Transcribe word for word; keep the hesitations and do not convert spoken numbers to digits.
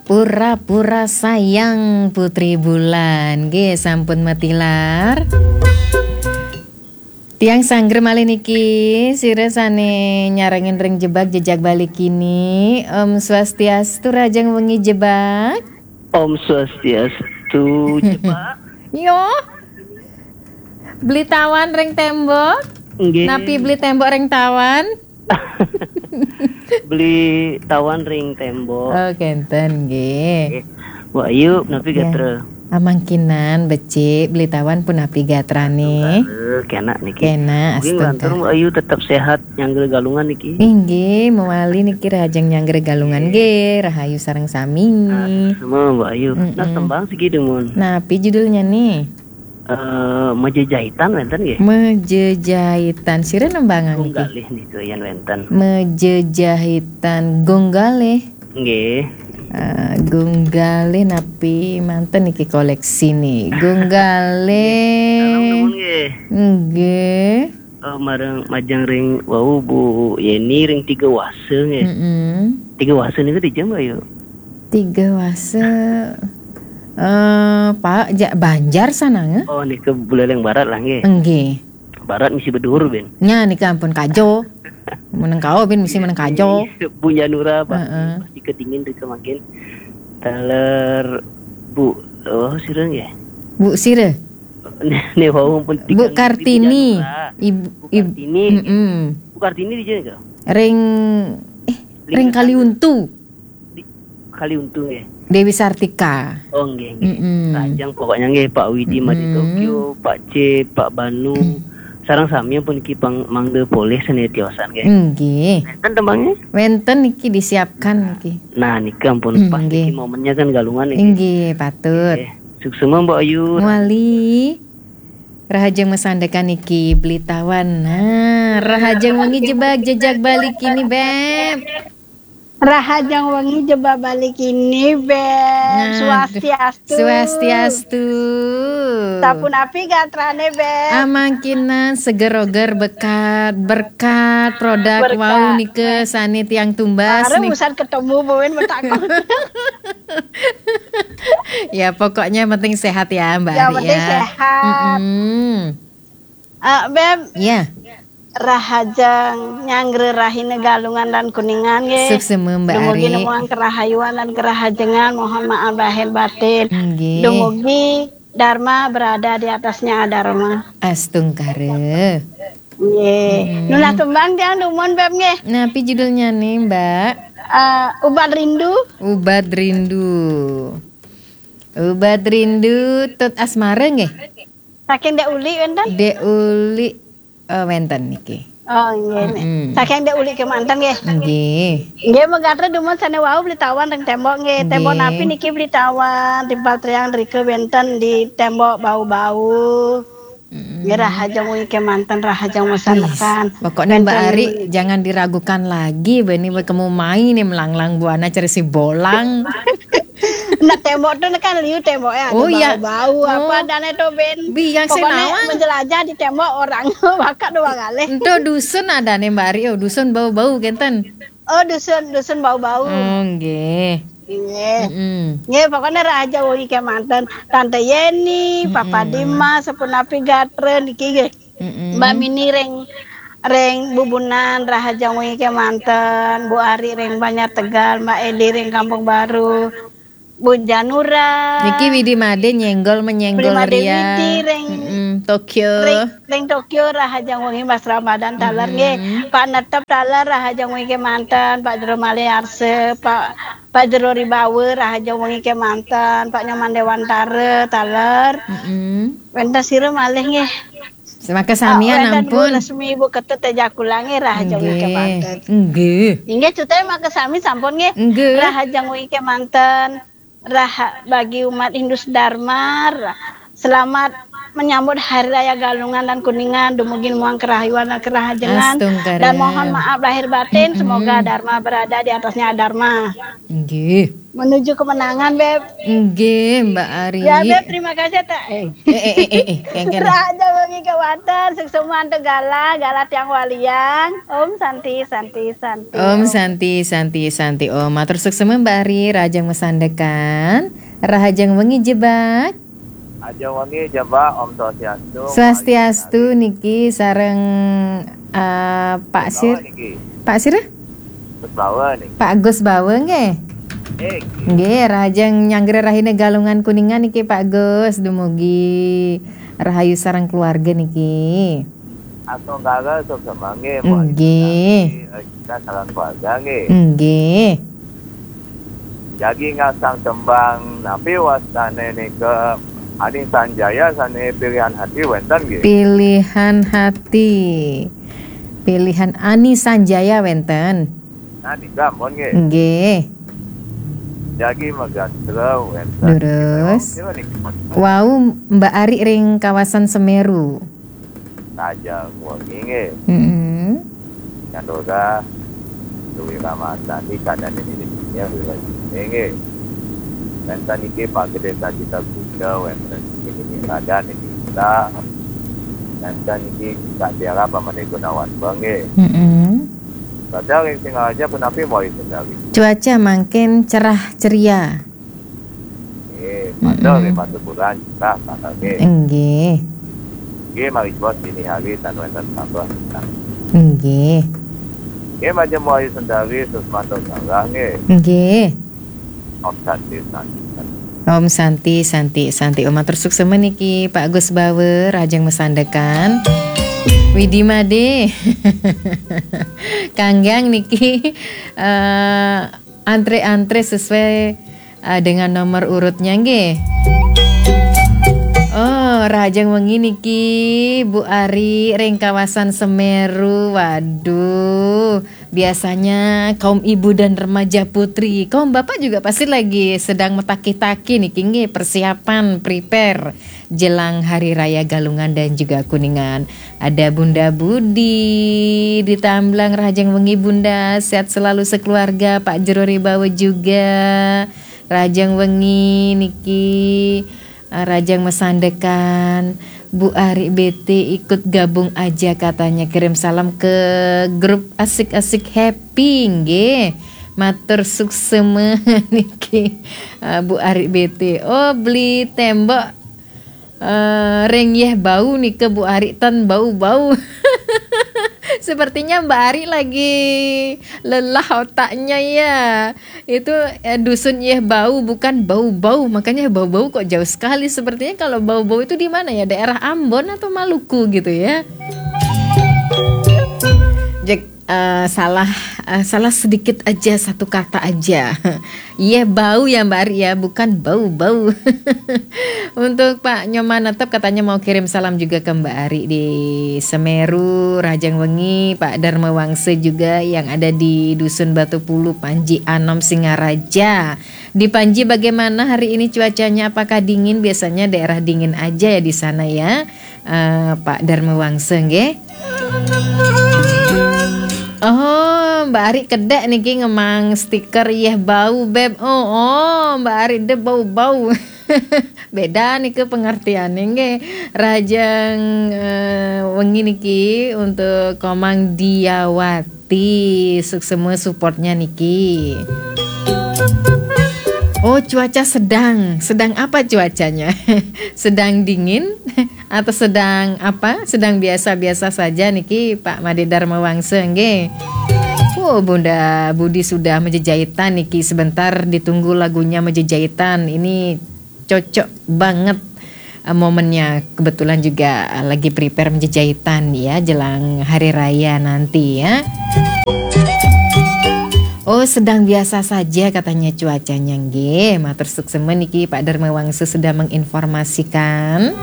Pura-pura sayang Putri Bulan. Nggih, sampun matilar. Tiang sangger malih niki, sira sane nyarengin ring Jebak Jejak Bali kini. Om Swastiastu, rahajeng wengi Jebak. Om Swastiastu, Jebak. Yo. Beli tawan ring tembok? Nggih. Napi beli tembok ring tawan? Beli tawan ring tembok. Oh, kenten nggih. Nggih. Mbok Ayu, napi gatra? Amangkinan becik, beli tawan punapi gatrane? Astungkara, kenak niki. Kenak, mungkin astungkara. Lantur Mbok Ayu tetep sehat, nyanggra galungan niki. Inggih, mewali niki rahajeng nyanggra galungan nggih, rahayu sareng sami. Nah, semua Mbok Ayu. Nah, tembang siki dumun. Napi judulnya nih? Eh, Mejejahitan wenten nggih? Mejejahitan. Sira nembangang niki? Gong Galih nika yen wenten. Mejejahitan Gong Galih. Nggih. Eh, Gong Galih napi manten niki koleksine? Gong Galih. Salam nuwun nggih. Nggih. Eh, marang majeng ring wau Bu Yeni ring Tiga Wasa nggih. Mm-mm. Tiga Wasa niku dija, Mbok Ayu? Tiga Wasa, eh, Pak, ja-, Banjar sananga? Oh, nika Buleleng Barat lah nggih. Nggih. Barat misi beduhur ben. Nya nika ampun kajo. Meneng kawo ben misi meneng kajo. Bunyanura pasti, heeh, pasti kedingin rika mangkin. Taler Bu, oh, sira nggih. Bu sira? Ne, ne wau pun Bu tigang Kartini. Bunyanura. Ibu, Bu Kartini. Mm-mm. Bu Kartini dija nika? Ring, eh, ring Kaliuntu. Di Kaliuntu nggih. Dewi Sartika. Oh, nggih, nggih. Mm-mm. Rahajeng pokoknya nggih, Pak Widi Made Tokyo, Pak C, Pak Banu. Sareng sami pun niki pang mangda polih sane tiosan nggih. Nggih. Wenten tembangnya? Wenten niki disiapkan niki. Nah, niki ampun pas niki momennya kan galungan niki. Nggih, patut. Nggih. Suksema Mbok Ayu. Wali. Rahajeng masandekan niki beli tawan. Nah, rahajeng wengi Jebak Jejak Bali kini, Beb. Rahajeng wengi Jebak Bali kini, Beb. Nah, swastiastu. Swastiastu. Sapunapi gatrane, Beb? Amangkinan seger-oger bekat, berkat produk wau nika sane tiang tumbas. Arep nih. Usan ketemu buin betakon. Ya, pokoknya penting sehat ya, Mbak Ari ya. Yang penting sehat. Mm-mm. Eh, Beb. Iya. Rahajeng nyanggra rahina Galungan lan Kuningan nggih. Suksema, Mbak Ari. Dumugi nemuang kerahayuan lan kerahajengan, mohon maaf lahir batin. Nggih. Dumugi Dharma berada di atasnya Adharma. Astungkara. Nggih. Mm-mm. Nunas tembang tiang dumun, Beb, nggih. Napi judulnya nih, Mbak? Eh, Ubat Rindu. Ubat Rindu. Ubat Rindu Tut Asmara nggih? Saking Dek Uli wenten? Dek Uli, eh, wenten niki. Oh, nggih. Mm-mm. Saking Dek Uli kemanten nggih. Nggih. Nggih, megatra dumun sane wau beli tawan ring tembok nggih. Tembok napi niki beli tawan? Timpal triang rika wenten di tembok bau-bau. Mm-mm. Nggih, rahajeng wengi kemanten, rahajeng masandekan. Wis, pokoknya Mbak Ari jangan diragukan lagi, bani berkemu mai nih melanglang buana cari si bolang. Nah, tembok tu kan liu tembok ya, ada bau-bau, apa adane tu, Ben? Biang. Pokoknya nawang menjelajah di tembok orang, bakat dua kali. Ento dusun adane, Mbak Ari, oh, dusun bau-bau kenten. Oh, dusun, dusun bau-bau. Oh, nggih. Nggih. Mm-mm. Nggih, pokoknya rahajeng wengi kemanten. Tante Yeni, Papa Dimas, sapunapi gatra niki nggih. Mm-mm. Mbak Mini ring, ring Bubunan, rahajeng wengi kemanten. Bu Ari ring Banjar Tegal, Mbak Eli ring Kampung Baru, Bu Janura. Niki Widi Made nyenggol menyenggol Widi Made ria. Widi ring, mm-mm, Tokyo. Ring, ring Tokyo, rahajeng wengi Mas Ramadan taler nggih. Mm-mm. Pak Netep taler, rahajeng wengi kemanten. Pak Jero Maliarse, Pak, Pak Jero Ribawa, rahajeng wengi kemanten. Pak Nyoman Dewantara taler. Mm-mm. Wenten sira malih nggih. Semaka samian, ah, wenten ampun. Bu Resmi, Bu Ketut Tejakula nggih, rahajeng wengi kemanten. Nggih. Inggih, cute maka sami sampun nggih. Nggih. Rahajeng wengi kemanten. Raha bagi umat Hindu Dharma. Ra-, selamat menyambut Hari Raya Galungan dan Kuningan, dumugi muang kerahayuan dan kerahajengan. Astungkara. Dan mohon maaf lahir batin, semoga Dharma berada di atasnya Adharma. Nggih. Menuju kemenangan, Beb. Nggih, Mbak Ari. Ya, Beb, terima kasih, tak. Eh. Eh, eh, eh, eh, eh, kengken. Rahajeng wengi kewanten, suksma antuk galah, galah tiang waliang. Om Santi, Santi, Santi. Om Santi, Santi, Santi. Om, matur suksma Mbak Ari, rahajeng masandekan. Rahajeng wengi Jebak. Rahajeng wengi Jebak, Om Swastiastu. Swastiastu niki sareng, eh, Pak Sir. Bawa niki. Pak Sir? Gus Bawa niki. Pak Gus Bawa nggih. Eh, nggih. Nggih, rahajeng nyanggra rahina Galungan Kuningan niki Pak Gus, dumugi rahayu sareng keluarga niki. Astungkara suksma nggih, Mbok. Nggih. Kita sareng keluarga nggih. Nggih. Jagi ngasang tembang, napi wastane nika Ani Sanjaya sane pilihan hati wenten nggih? Pilihan hati. Pilihan Ani Sanjaya wenten. Nah, nika ampun nggih. Nggih. Jagi Megastra wenten. Durus. Kira niki. Wau Mbak Ari ring kawasan Semeru. Rahajeng wengi nggih. Mm-mm. Nyandoga Dewi Ramadhani kadane nini dunia wilayah nggih. Wenten niki Pak Gede Sajita Kuda, wenten niki Radan niki kita, wenten niki Kak Tiara pamane Gunawan Bang nggih. Mm-mm. Padahal ring Singaraja punapi mawali sendari. Cuaca mangkin cerah ceria. Nggih, padahal nggih, Batu Bulan, cerah, tanggal nggih. Nggih. Nggih, mari bos dini hari tan wenten tambah. Nggih. Nggih, majeng mawali sendari, suksma antuk galah nggih. Nggih. Om Santi, Santi, Santi. Om Santi, Santi, Santi. Om matur suksma niki Pak Gus Bawa, rahajeng masandekan. Widi Made. Kanggang niki, eh, antre-antre sesuai, eh, dengan nomor urutnya nggih. Oh, rahajeng wengi niki Bu Ari ring kawasan Semeru. Waduh, biasanya kaum ibu dan remaja putri, kaum bapak juga pasti lagi sedang metakih-takih niki nggih, persiapan, prepare jelang Hari Raya Galungan dan juga Kuningan. Ada Bunda Budi di Tamblang, rahajeng wengi Bunda, sehat selalu sekeluarga, Pak Jero Ribawa juga. Rahajeng wengi niki, eh, rahajeng masandekan. Bu Ari B T ikut gabung aja katanya, kirim salam ke grup Asik-Asik Happy nggih. Matur suksma niki, eh, Bu Ari B T. Oh, beli tembok, eh, ring Yeh Bau nika Bu Ari tan bau-bau. Sepertinya Mbak Ari lagi lelah otaknya ya. Itu, eh, dusun Yeh Bau, bukan Bau-Bau. Makanya Bau-Bau kok jauh sekali. Sepertinya kalau Bau-Bau itu di mana ya? Daerah Ambon atau Maluku gitu ya? Jek, eh, salah, eh, salah sedikit aja, satu kata aja. Yeh Bau ya Mbak Ari ya, bukan Bau-Bau. Untuk Pak Nyoman Netep katanya mau kirim salam juga ke Mbak Ari di Semeru, rahajeng wengi, Pak Dharma Wangsa juga yang ada di Dusun Batu Pulu, Panji Anom, Singaraja. Di Panji bagaimana hari ini cuacanya? Apakah dingin? Biasanya daerah dingin aja ya di sana ya, eh, Pak Dharma Wangsa nggih. Oh, Mbak Ari kedek niki ngemang stiker Yeh Bau, Beb. Oh, oh, Mbak Ari de bau-bau. Beda niki pengertiannya nggih. Rahajeng, eh, wengi niki untuk Komang Diawati. Suksma supportnya niki. Oh, cuaca sedang. Sedang apa cuacanya? Sedang dingin atau sedang apa? Sedang biasa-biasa saja niki, Pak Made Dharma Wangsa nggih. Oh, Bunda Budi sudah menjejahitan niki. Sebentar ditunggu lagunya menjejahitan. Ini cocok banget, eh, momennya. Kebetulan juga, eh, lagi prepare menjejahitan ya, jelang hari raya nanti ya. Oh, sedang biasa saja katanya cuacanya nggih. Matur suksma niki Pak Dharma Wangsa sudah menginformasikan.